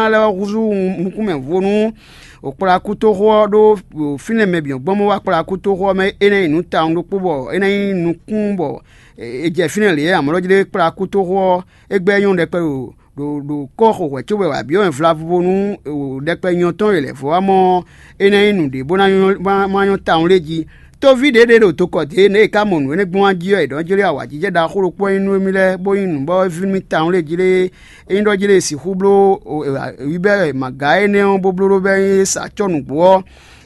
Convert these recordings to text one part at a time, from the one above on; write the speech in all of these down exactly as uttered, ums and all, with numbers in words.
lɛ́ɛ ɔ́ húzú nukúnmɛ vo nú kplakútoxo ɔ́ ɖó fínɛ́ mɛ bǐ gbɔn bó wá kplakútoxo ɔ́ mɛ. É ná nyí nǔ tawun ɖokpó bɔ é ná nyí nukún bɔ è jɛ fínɛ́ lě amɔ̌ jlé kplakútoxo ɔ́ é gbɛ́ nyɔ́ ɖɛkpɛ ɖo ɖo ɖo kɔ́ xo hwɛ̌ cóbɔ è wǎ byɔ́ wɛn vlavo bónú ɖɛkpɛ nyɔ tɔn e lɛ̌ vɔ́ wá mɔ ɔ́, é ná nyí nǔɖé bó ná nyɔ́ bó ná nyɔ́ tawun lé jí. Tóví ɖě ɖě ɖo tokɔ dě nɛ̌ è ká mɔ nǔ énɛ́ gbɔn jí ɔ́, è ɖɔ̌ jlé awǎjijɛ ɖaxó ɖokpó ɔ́ nyí nú émí lɛ́ɛ, bó nyí nǔ bɔ é ví nú mì tawun lé jí lé. É nyí ɖɔ jí lé è sixú bló wíbɛ́ mǎga énɛ́ ɔ́ bó bló ɖó bɛ́ é sa acɔ́ nǔgbó ɔ́,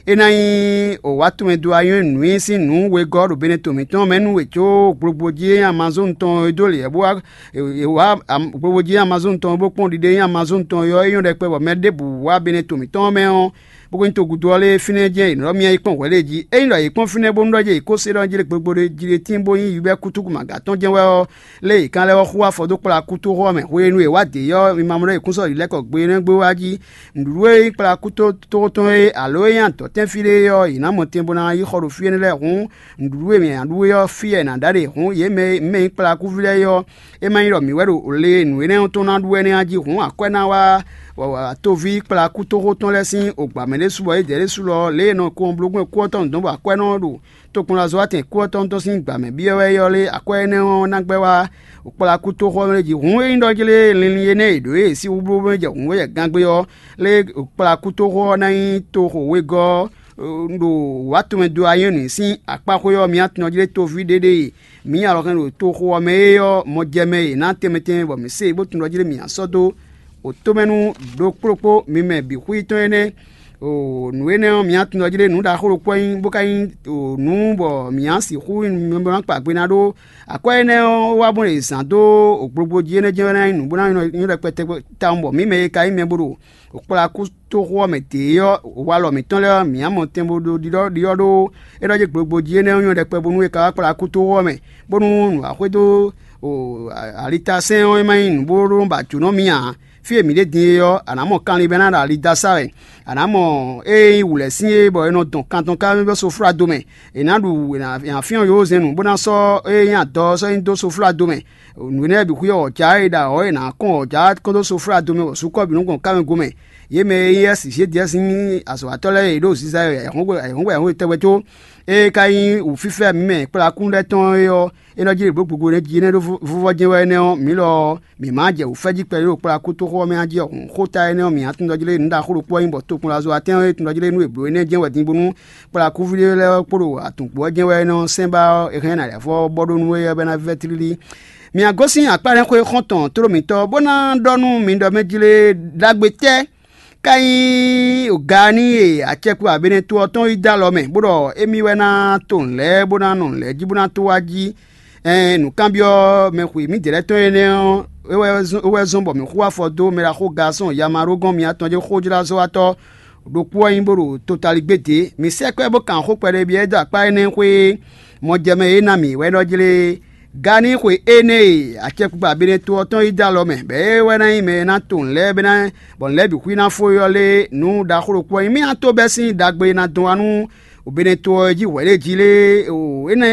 é ná nyí wǎ tɔn mɛ dó anyɔ́ nǔnyi sín nǔ wegɔ́ ɖo Benɛto mǐtɔn mɛ nú wě có gblogbó jí é nyí Amazɔ́ɔn tɔn e dó lě ɔ́ bó wá è wá gblogbó jí Amazɔ́ɔn tɔn bó kpɔ́n ɖiɖe nyí Amazɔ́ɔn tɔn ɔ́, é nyɔ́ ɖɛkpɛ bɔ mɛ ɖěbǔ wá Benɛto mǐtɔn ɔ́ mɛ ɔ́, bó ko nyí togudo ɔ́ lé fínɛ́ jɛ́n è nɔ ɖɔ mì yi kpɔ́n hwɛ̌ lě jí. Ényí ɖɔ yě kpɔ́n fínɛ́ bónú ɖɔ jɛ yě kó se ɖɔ jí lé gblogbó ɖé jí ɖé tíin bó nyí yǔbɛ́ kútúkú mǎga tɔn jɛ́n wɛ ɔ́, lé yě kán lɛ́ wá xú afɔ dó kplá kútóxɔ ɔ́ mɛ. Hwenu e wǎ dě ɔ́, mi ma mɔ ɖɔ yě kún sɔ́ yǐ lɛ́ kɔ gbe énɛ́ gbé wá jí. Nǔɖuɖu e nyí kplá kútóxo tɔn é, alo e nyí adɔ̌tɛ́nfí ɖé é ɔ́, yě ná mɔ tɛn bó ná yi xɔ ɖo fí énɛ́ lɛ́ɛ hǔn, nǔɖuɖu e mǐ ná ɖu é ɔ́, fí wɛ è nǎ ɖa ɖe hǔn, yě mɛ mɛ nyí kplá kúví lɛ́ɛ é ɔ́, é ma nyí ɖɔ mǐ wɛ ɖo le e nǔ énɛ́ ɔ́ tɔn ná ɖu wɛ nɛ́ ɔ́ jí hǔn, akwɛ́ ná wá toví kplá kútóxó tɔn lɛ́ɛ sín ogbǎ mɛ ɖésú bɔ é dɛ ɖésú lɔ lě e è nɔ kɔn bló gbɔn kú ɔ́ tɔn nǔ dɔn bɔ akwɛ́ nɔ ɖo tokpɔnlazɔ́watɛn kú ɔ́ tɔn tɔn sín gbǎ mɛ byɔ́ wɛ é ɔ́ lé, akwɛ́ énɛ́ ɔ́ ná gbɛ́ wá kplá kútóxó ɔ́ mɛ jí. Hǔn ényí ɖɔ jí lé linlin énɛ́ e ɖǒ e sín húblúhúblú jɛ hǔn wɛ jɛ gangbé ɔ́ lé, kplá kútóxó ɔ́ ná nyí toxo wegɔ́ ɔ́ ɖo wǎ tɔn mɛ dó anyɔ́nǔ sín akpáxwé ɔ́, mǐ atɔn jí lé toví ɖé ɖe e mǐ nyi alɔ hɛn ɖo toxo ɔ́ mɛ é ɔ́, mɔ jɛ mɛ e è nǎ tɛnmɛ tɛnmɛ bɔ mǐ se bó tunwun ɖɔ jí lé mǐ ná sɔ́ dó wǒtomɛnu ɖokpó ɖokpó mi mɛ bǐ xwí tɔn énɛ́. Nǔ énɛ́ ɔ́, mǐ nǎ tunwun ɖɔ jí lé nǔ ɖaxó ɖokpó wɛ nyí, bó ka nyí nǔ bɔ mǐ nǎ sixú nyí mɛ bó ná kpa gbe ná ɖó akwɛ́ énɛ́ ɔ́ wá bó ɖe zǎn dó gblogbó jí énɛ́ jɛ́n wɛ ná nyí nǔ bó ná nyɔ́ ɖɛkpɛ tɛgbɛ tawun bɔ mǐ mɛ e ka nyí mɛ bó ɖo kplá kútóxo ɔ́ mɛ dě ɔ́, walɔ mǐtɔn lɛ́ɛ ɔ́, mǐ nǎ mɔ tɛn bó ɖó ɖiɖɔ ɖiɖɔ ɖó é ɖɔ jí gblogbó jí énɛ́ ɔ́ nyɔ́ ɖɛkpɛ bónú é ka wá kplá kútóxo ɔ́ mɛ, bónú nǔ wá xwedó alitasɛ́n ɔ́, é ma nyí nǔ bó ɖó ba jǒnɔ mì ǎ. Fí e mǐ ɖe din é ɔ́, a nǎ mɔ kanlin bɔ é ná ɖo ali da sá wɛ. A nǎ mɔ ée nyí wǔlɛ́sin é bɔ è nɔ dɔn kan tɔn ká bɔ soflado mɛ. È nǎ ɖu è nǎ fyɔ́n yǒzɛ́n nǔ bó ná sɔ́ ée nyí adɔ ɔ́ sɔ́ nyi dó soflado mɛ. Nǔ énɛ́ bǐ xwí ɔ́, wɔ̌jǎ e ɖo awɔ̌ è nǎ kɔn wɔ̌jǎ kɔn dó soflado mɛ bɔ sukɔ́ bǐ nɔ́ gbɔn ká mɛ gomɛ. Yě mɛ e nyí Ɛsi Zedɛ́si nyí azɔ̌watɔ́ lɛ́ɛ e ɖo ziza e ayǐhɔ́ngbe ayǐhɔ́ngbe ayǐhɔ́ngbe tɛgbɛ có, ée ka nyí wǔfífɛ́ mǐ mɛ kplakún lɛ́ɛ tɔn é ɔ́, é nɔ jí ɖě bló gbogbo nɛ́ jí énɛ́ ɖó vɔ́vɔ́ jɛ́n wɛ énɛ́ ɔ́, mǐ lɔ ɔ́, mǐ ma jɛ wǔfɛ́ jí kpɛɖé ɖo kplakútoxo ɔ́ mɛ a jí ɔ́ hǔn. Xóta énɛ́ ɔ́, mǐ nǎ tunwun ɖɔ jí lé nǔ ɖaxó ɖokpó wɛ nyí bɔ tokpɔnlazɔ́watɛ́n ɔ́ e tunwun ɖɔ jí lé nú è blǒ énɛ́ jɛ́n wɛ din bónú kplakúví lɛ́ɛ kpó ɖo atǔnkpo ɔ́ jɛ́n wɛ é nɔ sɛ́n ba ɔ́, è hɛn ná lɛ̌ vɔ́ bɔ ɖó nú éyɛ́ bɔ é ná vɛ́ tlílí. Mǐ a gosín akpá lɛ́ɛ xwé xɔ́ntɔn tló mǐtɔn bó ná ɖɔ nú mi ɖɔ mɛ jlé ɖagbe tɛ́ ká nyí ga n'i e acɛkpo abɛnɛ to ɔ́ tɔn yi dó alɔ mɛ, bó ɖɔ émí wɛ ná to nǔ lɛ́ɛ bó ná nɔ nǔ lɛ́ɛ jí bó ná tó wá jí. Ɛn nǔkanbyɔ́ mɛ xweyǐmídɛɛ lɛ́ɛ tɔn énɛ́ ɔ́, é wɛ zɔ́n bɔ mǐ xú afɔ dó mɛ ɖaxó Gaasɔn Yamarógɔ́n mitɔn ce xójlázɔ́watɔ́ ɖokpó ɔ́ nyí bó ɖo totaligbé dě. Mǐ sɛ́ kwɛ́ bó kan xó kpɛɖé byɔ́ ɛ dó akpá énɛ́ xwé e mɔjɛmɛ e ná mǐ wɛ ɖɔ jlé é. Ganixwe énɛ́ e acɛkpikpa Beneto ɔ́ tɔn yi dó alɔ mɛ, bɔ é wɛ ná nyí mɛ e ná to nǔ lɛ́ɛ bɔ é ná bɔ nǔ lɛ́ɛ bǐ xwí ná fó é ɔ́ lé, nǔ ɖaxó ɖokpó ɔ́ nyí mì ná tó bɛ́ sín ɖagbe e ná dɔn wá nú Beneto ɔ́ jí hwɛ̌ ɖé jí lé. Énɛ́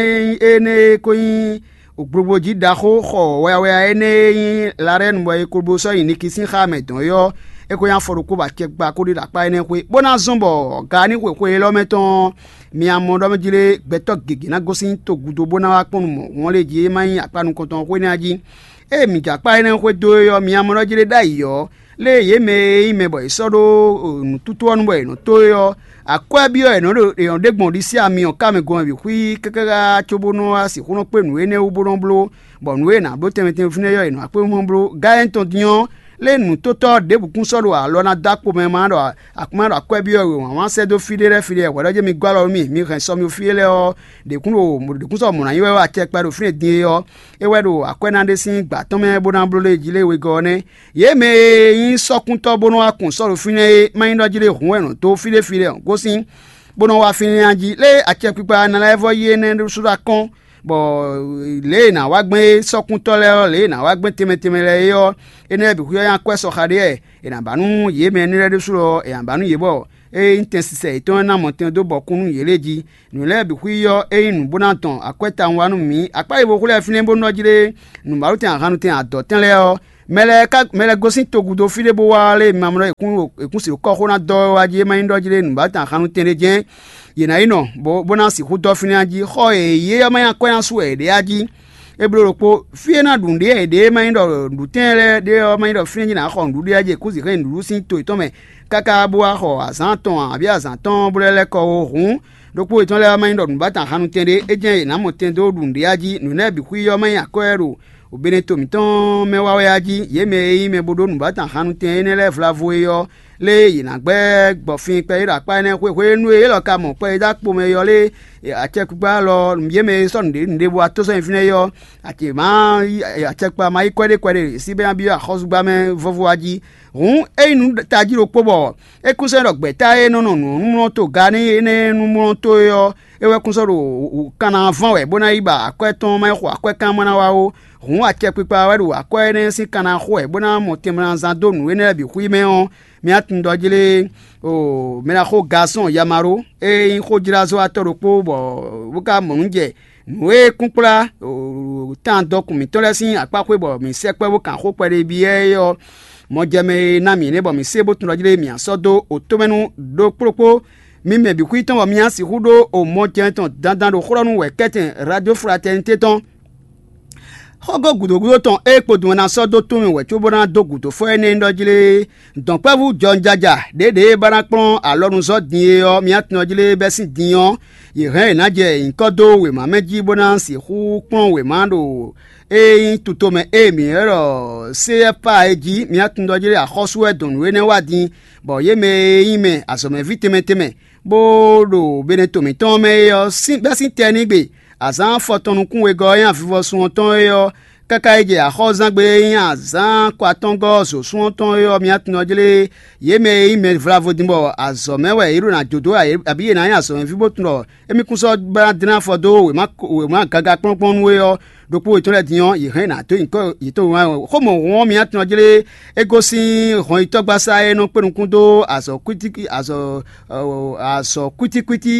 énɛ́ e ko nyí gblogblojí ɖaxó xɔ wɛyawɛya énɛ́ e nyí Larɛ́nu bɔ è ko bo sɔ́ nyi Niki sín xá mɛ dɔn é ɔ́, é ko nyí afɔ ɖokpó bɔ acɛkpikpa ko ɖe ɖo akpá énɛ́ xwé, bó ná zɔ́n bɔ ganixwe xwe élɔ́ mɛ tɔn ɔ́, mi a mɔ ɖɔ mɛ jí lé, gbɛtɔ́ gěgé ná gosín togudo bó ná wá kpɔ́n nú mɔ̌ hɔn lě jí é má nyí akpá nukɔntɔn xwé nɛ́ a jí. Ée mǐ jɛ akpá énɛ́ xwedó é ɔ́, mi a mɔ ɖɔ jí lé ɖ'ayǐ ɔ́, lě e yě mɛ e nyí mɛ bɔ è sɔ́ ɖó nǔtútú ɔ́ nu bɔ è nɔ tó é ɔ́, akwɛ́ byɔ́ è nɔ ɖo è nɔ ɖe gbɔn ɖisí ami ɔ́ ká mɛ gɔn bǐ xwí káká cóbónú wá sixú nɔ kpé nǔ énɛ́ wú bó nɔ bló, bɔ nǔ e è nǎ bló tɛnmɛ tɛnmɛ fínɛ́ ɔ́, è nɔ akpé mɔ bló. Gáyɛ́n tɔn din ɔ́, lé nǔtótɔ́ ɖěbǔ kún sɔ́ ɖo alɔ ná dó akpo mɛ ma ɖɔ akpá ɖo akwɛ́ byɔ́ wěwǎn wá sɛ́ dó fí ɖé lɛ́ɛ fí ɖé hwɛ̌ ɖɔ jɛ́n mi gɔ́ alɔ nú mì, mi hɛn sɔ mì fí lɛ́ɛ ɔ́, ɖě kún ɖo ɖě kún sɔ́ mɔ̌ ná nyí wɛ wá acɛkpɛ ɖo fínɛ́ din é ɔ́, é wɛ ɖo akwɛ́ ná ɖe sín gbǎ tɔn mɛ bó ná bló lé jí lé wegɔ́ ɔ́ nɛ́. Yě mɛ e nyí sɔ́kúntɔ́ bó nɔ́ wá kun sɔ́ ɖo fínɛ́ é, má nyí ɖɔ jí lé hǔn wɛ nɔ dó fí ɖé fí lɛ́ɛ ɔ́ gosín, bó nɔ́ wá fínɛ́ jí lé acɛkpikpa ná lɛ́ vɔ yí énɛ́ ɖésú ɖo akɔ́n, bɔ lě e è nǎ wá gbɛn é sɔ́kúntɔ́ lɛ́ɛ ɔ́, lě e è nǎ wá gbɛn tɛnmɛ tɛnmɛ lɛ́ɛ é ɔ́, énɛ́ bǐ xwíxwɛ́ nyí akwɛ́ sɔxa ɖé wɛ è nǎ ba nú yě mɛ énɛ́ lɛ́ɛ ɖésú ɔ́, è nǎ ba nú yě bɔ ée nyí tɛn sisɛ yětɔn ɔ́ ná mɔ tɛn dó bɔ kún nú yě lée jí. Nǔ lɛ́ɛ bǐ xwí ɔ́, é nyí nǔ bó ná dɔn akwɛ́ tawun wá nú mǐ. Akpá e bo xwlɛ́ fínɛ́ bó nɔ́ jlé nǔbálotɛn ahannutɛn adɔ̌tɛn lɛ́ɛ ɔ́, Mɛ lɛ́ɛ ka mɛ lɛ́ɛ gosín togúdo fí ɖé bó wá lé mamlɔ́ è kún è kún sixú kɔ́ xó ná dɔ́ wá jí é má nyí ɖɔ jí lé nǔbátán hannú tɛnɖé jɛ́n yě ná yi nɔ, bó bó ná sixú dɔ́ fínɛ́ jí. Xɔ e yě ɔ́ má nyí akwɛ́ ná su wɛ yě ɖe á jí. É bló ɖokpó, fí e ná ɖu nǔɖé yě ɖe é má nyí ɖɔ nǔɖutɛ́n lɛ́ɛ ɖé ɔ́ má nyí ɖɔ fínɛ́ jí nǎ xɔ nǔɖuɖu ɔ́ jí è kú sixú nyi nǔɖuɖu sín to yětɔn mɛ káká bó wá xɔ azǎn atɔn abǐ azǎn atɔ́ɔ́n bó lɛ́ lɛ́ kɔ ó. Hǔn, ɖokpó yětɔn lɛ́ɛ ɔ́ má nyí ɖɔ nǔbátán hannutɛn ɖé, é jɛ́n yě ná mɔ tɛn dó ɖu nǔɖé á jí. Nǔ nɛ́ bǐ xwí ɔ́ má nyí akwɛ́ ɖo Obeneto mǐtɔn mɛ wá wɛ a jí? Yě mɛ e nyí mɛ bo ɖó nǔbátán hannutɛn énɛ́ lɛ́ɛ vlavo é ɔ́, lé yě ná gbɛ́ gbɔfin kpɛɖé ɖo akpá énɛ́ xwé hwenu e élɔ́ ka mɔ kpɛɖéɖá kpomɛ ɔ́ lé? Acɛkpikpa lɔ yě mɛ e sɔ́ nǔɖé nǔɖé bó wá tó sɔ́ nyi fínɛ́ é ɔ́, acě má acɛkpikpa ma yí kwɛ́ɖé kwɛ́ɖé sí bɛ́ ná byɔ́ axɔ́zúgbá mɛ vɔ́vɔ́ wá jí. Hǔn, é nyí nǔ tají ɖokpó bɔ é kún sɔ́ ɖɔ gbɛ̌ta e nɔ nɔ nǔmlɔ́ to ga n'i énɛ́ nǔmlɔ́ to é ɔ́, é wɛ kún sɔ́ ɖo kanna ván wɛ bó ná yi ba akwɛ́ tɔn má yi xo akwɛ́ kán má ná wá ó. Hǔn, acɛkpikpa wɛ ɖo akwɛ́ énɛ́ sín kanna xo wɛ bó ná mɔ tɛnmɛ ná zán dó nǔ énɛ́ lɛ́ɛ bǐ xwí mɛ ɔ́, mì nǎ tunwun ɖɔ jí lé? O mɛ ná xo Gasɔn Yamaɖó e nyí xójlázɔ́watɔ́ ɖokpó bɔ bó ka mɔ nǔ jɛ nǔ e kún kplá tan dɔkun mǐtɔn lɛ́ɛ sín akpá xwé bɔ mǐ sɛkpɔ́ bó kan xó kpɛɖé byɔ́ é ɔ́, mɔjɛmɛ e ná mǐ nɛ́ bɔ mǐ se bó tunwun ɖɔ jí lé mǐ sɔ́ dó otomɛnu ɖokplókpó. Mi mɛ bǐ xwí tɔn bɔ mi ná sixú ɖó o mɔjɛmɛ tɔn dandan ɖo xlɔ́ nú wɛ̌kɛ́tɛn Radio Fraternité tɔn. Xɔ́gɔ́ gǔdo gúdo tɔn e kpodun ɔ́ ná sɔ́ dó tún mì wɛ cóbó ná dó gǔdo fɔ énɛ́ ɖɔ jí lé. Dɔ̌nkpɛ́vú jɔnjaja ɖěɖě e ba ná kplɔ́n alɔnuzɔ́ din é ɔ́, mi tunwun jí lé bɛ́ sín din ɔ́, yě hɛn yě ná jɛ nyǐkɔ dó wěma mɛ jí bó ná sixú kplɔ́n wěma ɖo e nyí tutomɛ e mǐ ylɔ́ ɖɔ C F A é jí. Mi tunwun jí lé axɔ́sú wɛ dɔn nǔ énɛ́ wá din, bɔ yě mɛ e nyí mɛ azɔ̌mɛví tɛnmɛ tɛnmɛ bó ɖo Beneto mǐtɔn mɛ é ɔ́, sín bɛ́ sín tɛnígbe azǎn afɔtɔn nukún wegɔ́ e nyí avivɔsun ɔ́ tɔn é ɔ́, káká yi jɛ axɔ́zangbe e nyí azǎn ko atɔ́ngɔ́ zǒsún ɔ́ tɔn é ɔ́, mi tunwun jí lé. Yě mɛ e nyí mɛ vlavo din bɔ azɔ̌ mɛ wɛ yě ɖo ná jó dó ǎ, abǐ yě ná nyí azɔ̌mɛví bó tunwun ɖɔ émí kún sɔ́ ba ná dlɛ́n afɔ dó wěma gaga kplɔ́nkplɔ́n nú é ɔ́, ɖokpó yětɔn lɛ́ɛ din ɔ́, yě hɛn nǎ dó nyǐkɔ yětɔn wá. Xó mɔ̌hun ɔ́, mi tunwun jí lé, é gosín hɔnnyitɔ́gbasá e nɔ kpé nukún dó azɔ̌ kwítíkwí azɔ̌ azɔ̌ kwítíkwítí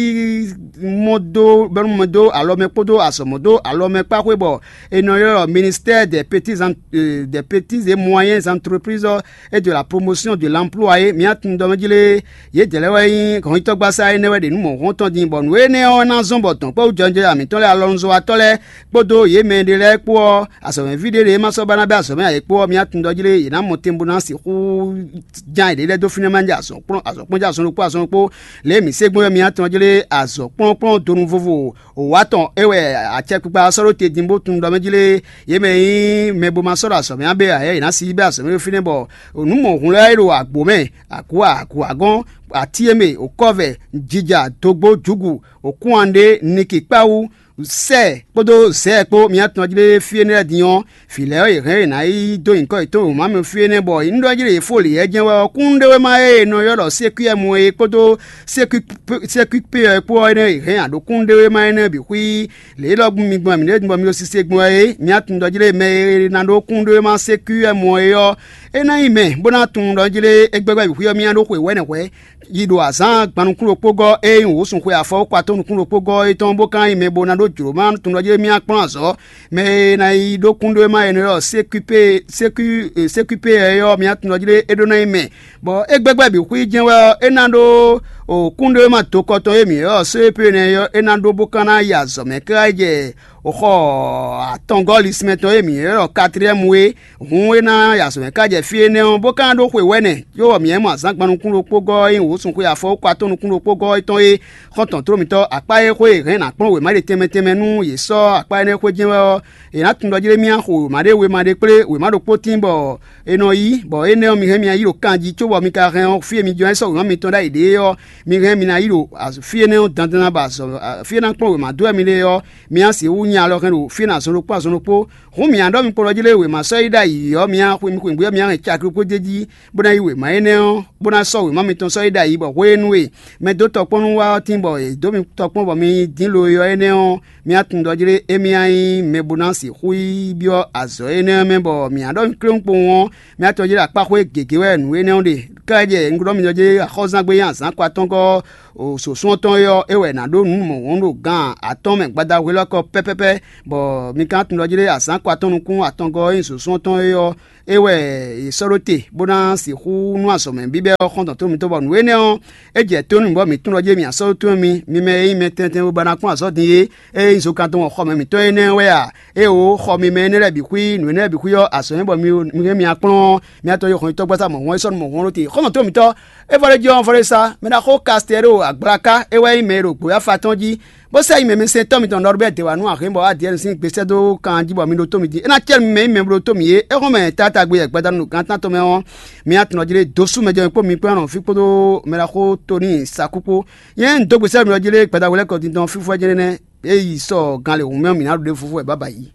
mɔ dó bɛ́nú mɔ dó alɔ mɛ kpódó azɔ̌ mɔ dó alɔ mɛ kpá xwé bɔ è nɔ ylɔ́ ɖɔ ministère des petits des petits et moyens entreprises et de la promotion de l'emploi é. Mi tunwun ɖɔ mɛ jí lé, yědɛɛ lɛ́ɛ wɛ nyí hɔnnyitɔ́gbasá énɛ́ wɛ ɖe nǔ mɔ̌hunkɔtɔn din, bɔ nǔ énɛ́ ɔ́ ná zɔ́n bɔ dɔ̌nkpɛ́wú jɔjɔ́ mǐtɔn lɛ́ɛ alɔnuzɔ́watɔ́ lɛ́ɛ kpódó yě mɛ ɖé lɛ́ɛ kpó ɔ́, azɔ̌mɛví ɖé lɛ́ɛ ma sɔ́ ba ná bɛ́ azɔ̌ mɛ ǎ é kpó ɔ́, mi tunwun ɖɔ jí lé, yě ná mɔ tɛn bó ná sixú ján yěɖée lɛ́ɛ dó fínɛ́ má jɛ azɔ̌ kplɔ́n azɔ̌ kplɔ́n jɛ azɔn ɖokpó azɔn ɖokpó. Lě e mǐ se gbɔn wɛ mi ná tunwun jí lé, azɔ̌ kplɔ́nkplɔ́n donu vovo wǒ atɔn é wɛ acɛkpikpa ɔ́ sɔ́ ɖó te din bó tunwun ɖɔ mɛ jí lé, yě mɛ e nyí mɛ bo ma sɔ́ ɖo azɔ̌ mɛ ǎ bé ǎ, yě ná si yi bɛ́ azɔ̌ mɛ ɖó fínɛ́ bɔ nǔ mɔ̌hun lɛ́ɛ e ɖo agbo mɛ, agu agu agɔ́n, atíyémɛ, okɔ́vɛ, jija, dogbo, jǔgu, okúnwanɖé, niki kpáwú, sɛ kpódó zɛ kpó mi atɔn jí lé fí énɛ́ lɛ́ɛ din ɔ́, vǐ lɛ́ɛ ɔ́, yě hɛn yě ná yi dó nyǐkɔ yětɔn wěma mɛ fí énɛ́ bɔ nyí ɖɔ jí lě fó lě yɛ́ jɛ́n wɛ ɔ́, kúnnuɖewéma e è nɔ ylɔ́ ɖɔ sékwíɛ́mu é kpódó sékwípé ɔ́ kpó ɔ́ énɛ́ yě hɛn aɖǒ kúnnuɖewéma énɛ́ bǐ xwí. Lě élɔ́ gbɔn mi gbɔn mǐ ɖěe bɔ mi ɖo sise gbɔn wɛ é, mi atun ɖɔ jí lé mɛ e ná ɖó kúnnuɖewéma sékwíɛ́mu é ɔ́, é ná nyí mɛ bó ná tunwun ɖɔ jí lé é gbɛ́gbɛ́ bǐ xwí ɔ́, mì ná ɖó xwe wɛ̌nɛ́ hwɛ̌. Yi ɖo azǎn gban nukún ɖokpó gɔ́ e nyí wǔ sun xwe afɔwúkpatɔ́ nukún ɖokpó gɔ́ é tɔn bó ka nyí mɛ bo ná ɖó jlǒ ma tunwun ɖɔ jí mì kplɔ́n azɔ̌. Mɛ e ná yi ɖó kúnɖóma e è nɔ ylɔ́ sékwípé sékwí sékwípé ɔ́ é ɔ́, mì tunwun ɖɔ jí é ɖó ná nyí mɛ, bɔ é gbɛ́gbɛ́ bǐ xwí jɛ́n wɛ ɔ́, é ná ɖó kúnɖóma dokɔ tɔn e mǐ ylɔ́ sékwípé nɛ́ ɔ́, é ná ɖó bó ka ná yi azɔ̌ mɛ káká yi jɛ xɔ atɔngɔ́ lisínmɛ tɔn e mǐ ylɔ́ katliyɛ́mu é. Hǔn é ná ya azɔ̌ mɛ ká jɛ fí énɛ́ ɔ́, bó ka ná ɖó xwe wɛ̌nɛ, cóbɔ mǐ hɛn mɔ azǎn gban nukún ɖokpó gɔ́ ɔ́ e nyí wǒ sun xwe afɔwúkpatɔ́ nukún ɖokpó gɔ́ é tɔn é. Xɔ́ntɔn tló mitɔ́ akpá e xwé è hɛn ná kplɔ́n wěma ɖe tɛnmɛ tɛnmɛ nú yě sɔ́ akpá énɛ́ xwé jɛ́n wɛ ɔ́, è nǎ tunwun ɖɔ jí lé mì xo wěma ɖé wěma ɖé kplé wěma ɖokpó tíin bɔ è nɔ yí, bɔ énɛ́ ɔ́, mi hɛn mì yi ɖo kan jí, cóbɔ mi ka hɛn ɔ́, fí e mi jɔ é sɔ́ wěma mitɔn ɖ'ayǐ ɖe é ɔ́, mi hɛn mi ná yi ɖo fí énɛ́ ɔ́ dandan bɔ azɔ̌ fí e ná kplɔ́n wěma dó wɛ mi ɖe ɔ́, mi ná sixú nya alɔ hɛn ɖo fí e ná zɔn ɖokpó azɔn ɖokpó. Hǔn mǐ ná ɖɔ mi kpo ɖɔ jí lé wěma sɔ́ yi ɖ'ayǐ ɔ́, mi ná xwe mi xweyǐgbe ɔ́, mi ná hɛn cakri kpó d'é jí, bó ná yí wěma énɛ́ ɔ́, bó ná sɔ́ wěma mitɔn sɔ́ yi ɖ'ayǐ, bɔ hwenu e mɛ dó tɔkpɔ́n nú wá ɔ́ tíin bɔ è dó mi tɔkpɔ́n bɔ mi dín lo e ɔ́ énɛ́ ɔ́, mi ná tunwun ɖɔ jí lé émí ná nyí mɛ bó ná sixú yi byɔ́ azɔ̌ énɛ́ ɔ́ mɛ, bɔ mǐ ná ɖɔ mi kléwún kpowun ɔ́, mi ná tunwun jí lé akpáxwé gěgé wɛ nǔ énɛ́ ɔ́ ɖe. Ká jɛ un ɖɔ mi ɖɔ jí lé axɔ́zán gbe nyí azǎn ko atɔ́ngɔ́ ɔ́, sǒsún ɔ́ tɔn é ɔ́, é wɛ è nǎ ɖó nǔ mɔ̌hun ɖo gan atɔ́ɔ́n mɛ gbadahwelɔ́kɔ pɛ́pɛ́pɛ́, bɔ mi ka ná tunwun ɖɔ jí lé azǎn ko atɔ́n nukún atɔngɔ́ ɔ́ nyí sǒsún ɔ́ tɔn é ɔ́, é wɛ è sɔ́ ɖó te bó ná sixú nú azɔ̌ mɛ bíbɛ́ ɔ́ xɔ́ntɔn tó mitɔ́, bɔ nǔ énɛ́ ɔ́, é jɛ tónú bɔ mǐ tunwun ɖɔ jí mǐ asɔ́ towe mi, mi mɛ e nyí mɛ tɛntɛn bó ba ná kpɔ́n azɔ̌ din é, é nyí zokan tɔn xɔmɛ mǐtɔn énɛ́ wɛ a? Éeǒ, xɔ mi mɛ énɛ́ lɛ́ɛ bǐ xwí, nǔ énɛ́ lɛ́ɛ bǐ xwí ɔ́, azɔ̌ nyí bɔ mi mi hɛn mi akplɔ́n ɔ́, mi atɔ́ yi xɔnyitɔ́ gbasa mɔ̌ hɔn é sɔ́ nú mɔ̌ hɔn ɖó te. Xɔ́ntɔn tó mitɔ́, é vɔ ɖé jí ɔ́, vɔ ɖé sá, mɛ ɖaxó Kastɛ́ɖo Agblaká, é wɛ nyí mɛ e ɖo gbǒyáfa tɔn jí, bó sɛ́ nyi mɛmɛsɛntɔ́ mitɔn Nɔrbɛ́ɛ Dewanu Ahénbɔ Adiyɛ́ɛnu sín gbe sɛ́ dó kan jí bɔ mi ɖótó mì din. É ná cɛ́ nú mi mɛ nyí mɛ bo ɖótó mì é. É xɔ́n mɛ taatagbe e gbadanu ɖo gan tántɔn mɛ ɔ́, mi atɔn jí lé dó sú mɛ jɛ kpó mi kpó nɔ fí kpódó mɛ ɖaxó Tonii Sakú kpó. Nyɛ un dó gbe sɛ́ mi ɔ́ jí lé gbadanu lɛ́ɛ kɔ dindɔn fífú wɛ jɛ́n nɛ́. É yi sɔ gan lě hǔn mɛ ɔ́, mǐ ná ɖu ɖěvo fú wɛ bǎbǎ yi.